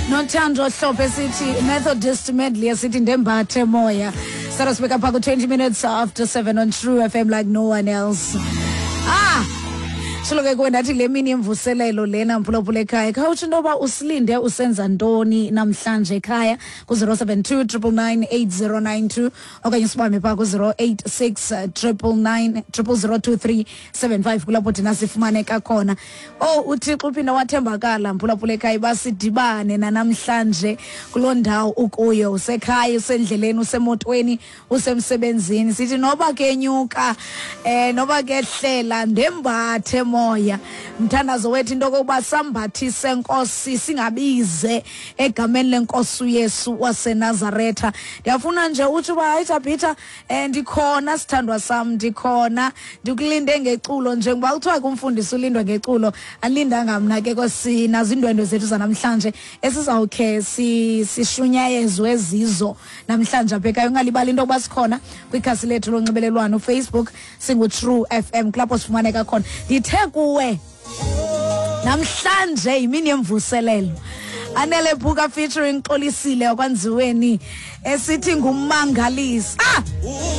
Nothando Hlophe sithi Methodist medley esithi ndembathe moya. Sara sibeka pha ku-20 minutes after 7 on True FM like no one else. Ah! Silo ke kuwe ndathi le mini yemvuselelo lena mphulaphula ekhaya khawutsho into yoba usilinde usenza ntoni namhlanje ekhaya ku-072 999 8092 okanye sibambe phaa ku-086 999 002375 kulapho thina sifumaneka khona. Oh, uThixo uphinda wathembakala mphulaphula ekhaya uba sidibane nanamhlanje kuloo ndawo ukuyo, usekhaya, usendleleni, usemotweni, usemsebenzini. Sithi noba kenyuka noba kehlela, ndembathe moya. Mthandazo wethu into yokokuba sambathise Nkosi, singabize egameni lenkosi uYesu waseNazaretha. Ndiyafuna nje utsho uba hayi Thabitha, ndikhona sithandwa sam, ndikhona, ndikulinde ngeculo. Njengoba kuthiwa ke umfundisi ulindwa ngeculo, andilindanga mna ke kwesinazo iindwendwe zethu zanamhlanje esizawukhe sishunyayezwe zizo namhlanje apha ekhaya. Ungalibali into yokuba sikhona kwikhasi lethu lonxibelelwano uFacebook, singuTrue FM, kulapho sifumaneka khona. Ndithe kuwe namhlanje yimini yemvuselelo. Anele Buka featuring Xolisile wakwanziweni esithi ngummangalisi. Ah!